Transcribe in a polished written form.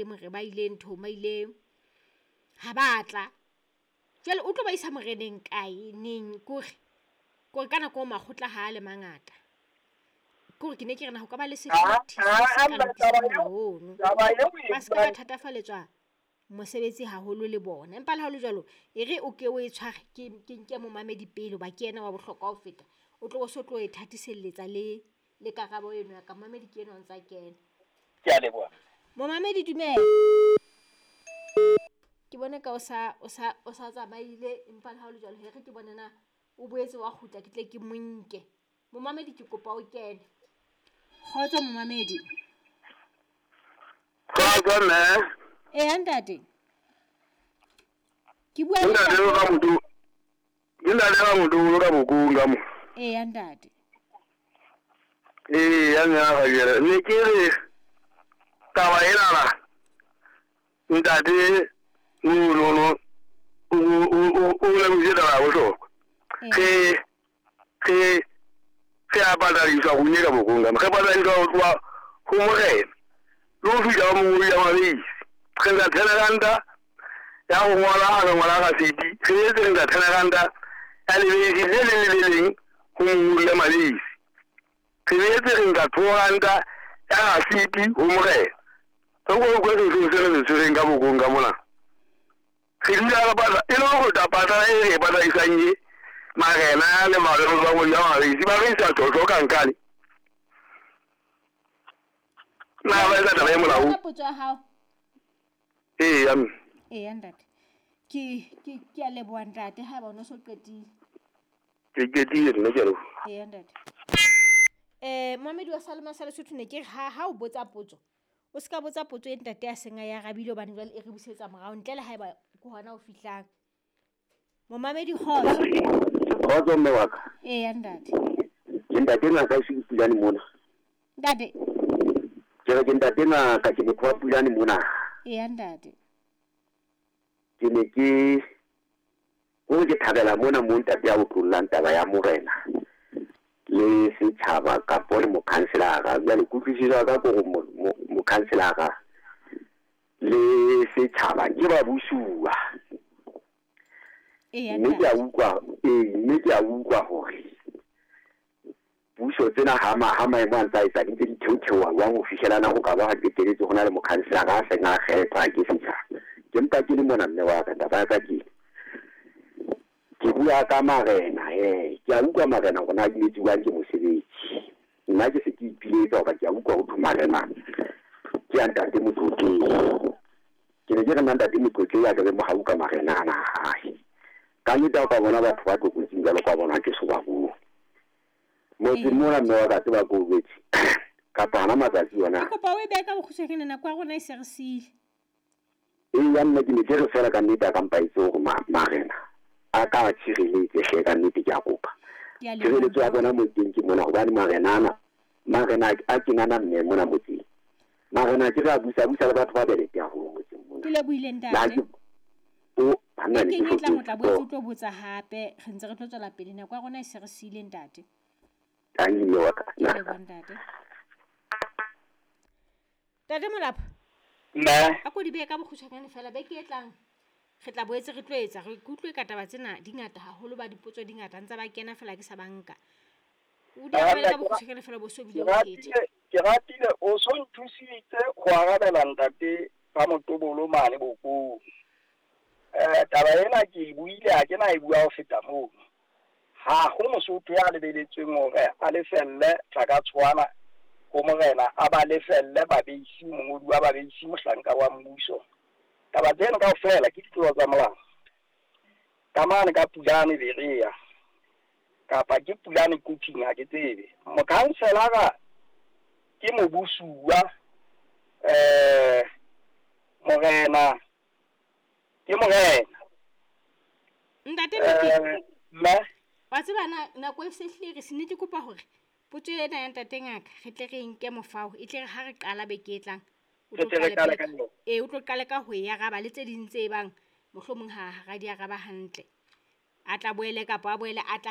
More ba ile nthong, ba ile ha ba tla. Jwale o tlo ba isa moreneng kae neng kore kore ka nako eo makgotla ha le mangata. Kore ke ne ke re na ho ka ba le sehlothi se se ka lokisang molao ono. Taba eo o e Ba seka ba buang. thatafalletswa mosebetsi haholo le bona. Empa le ha hole jwalo, e re o ke o e tshware ke nke momamedi pele hoba ke yena wa bohlokwa ho feta. O tlo bo so tlo e thatiselletsa le le karabo eno ya ka. Momamedi ke enwa o ntsa kena. Ke a leboha. Momamedi dumela. Ke bone ka o sa o sa o sa tsamaile, empa le ha hole jwalo he re ke bone na o boetse wa kgutla ke tle ke mo nke. Momamedi ke kopa o kene. Kgotso momamedi. Kgotso mme. Eya ntate. Ke bua le Ntate ntate. ka motho. Ke ntate ka motho ka bokong ka mo. Eya ntate. Ee, ya mme ga jere. Ne ke re taba ena la. Ntate no no no o o o le botse taba ya bohlokwa. Eya. Ge ge a patadiswa go nyeka bokong ka mo. Ge patadiswa go tloha ho morena. Le ho fihla ho mongodi ya mabese. Re nka 10 ranta ya go ngwala a re ngwala rasiti. Re etse re nka 10 ranta ya lebese le leng le le leng ho mongodi ya mabese. Re boetse re nka 2 ranta ya rasiti ho morena. Re ko utlwe sesolo se re se tshwereng ka bokong ka mona. Re dula re patla e le go ta patala e re e patadisang e marena le bangodi ba mabese ba re isa tjotjo ka nkane. Na ba etsa taba e molaong? Ka potso ya hao. Ee ya mme. Eya ntate. Ke a leboha ntate haeba o no so qetile. Ke qetile nna, ke a leboha. Eya ntate. Momamedi wa Salema sa Lesotho, ne ke re ha o botsa potso, o ska botsa potso e ntate a seng a e arabile hobane jwale e re busetsa morao ntle le haeba ke hona o fihlang. Momamedi, kgotso. Kgotso mme wa ka. Eya ntate. Ke ntate ngaka e se Pulane mona. Ntate. Ke re ke ntate ngaka, ke motho wa Pulane mona. Eya ntate. Ke ne ke hore ke thabela mona mo ntate ya utlollang taba ya morena le setjhaba kapo le mokhanselara. Jwale kutlwisiso ya ka ke hore mokhanselara le setjhaba ke ba busuwa. Eya Mme ke a ntate. utlwa, ee, mme ke a utlwa hore puso tsena ha maemo a ntsa etsa di ntse di theotheoha jwang ho fihlelana ho ka ba ha qetelletse ho na le mokhanselara a seng a kgethwa ke setjhaba. Ke mpa ke le mona mme wa ka, taba ya ka ke bua ka marena he. Ke a utlwa marena hore na di etsuwang ke mosebetsi. Nna ke se ke ipiletsa hoba ke a utlwa ho thwe marena ke a ntate Motlotlehi. Ke ne ke re nna ntate Motlotlehi a ke be mohau ka marena ana a hae. Ka nnete ha o ka bona batho ba tlokotsing jwalo ka bona ke so ba bone. Motseng mona mme wa ka tseba ke o jwetse kapa hana matsatsi ona. Ke kopa o e behe ka bokgutshwanyane, nako ya rona e se re siile. Ee ya mme, ke ne ke re fela ka nnete a ka mpa itse hore marena a ka tshireletse hle, ka nnete ke a kopa. Ke a leboha. Tshireletso ya bona motseng ke mona hobane marena ana marena a kenana mme mona motseng. Marena ke re a busa busa le batho ba belete haholo motseng mona. Ke lebohile Le ha ntate. ke o banna ne ke Bekeng e tlang o tla boetse o hlotse. tlo botsa hape, re ntse re tlo tswela pele, nako ya rona e se re siile ntate. Tanki mme wa ka. Ke a leboha ntate. Ntate Molapo. Mme. A ko di behe ka bokgutshwanyane fela, beke e tlang re tla boetse re tlo etsa re kutlwe ka taba tsena di ngata haholo, ba dipotso di ngata ntse ba kena fela ke sa banka. O di arabele ka bokgutshwanyane fela bo so bile Ke o phethe. Ratile o so nthusitse ho arabela ntate ba motobolo mane bokong. Taba ena ke e buile, ha ke na e bua ho feta mono. Ha ho Mosotho ya lebeletsweng hore a lefelle tlaka tshwana ho morena, a ba lefelle babeisi, mongodi wa babeisi, mohlanka wa mmuso. Taba tseno kaofela ke ditlolo tsa molao. Ka mane ka Pulane Berea kapa ke Pulane Quthing, ha ke tsebe. Mokhanselara ke mobusuwa, morena ke morena. Ntate Mokete. Mme. Wa tseba na nako e se hlile re se ne ke kopa hore potso ena ya ntate ngaka re tle re nke mofao, e tle re ha re qala beke e tlang o Re tlo tle re qale qale pele ka yona. Ee, o tlo qale ka ho e araba le tse ding tse bang mohlomong ha ra di araba hantle. A tla boele kapa a boele a tla.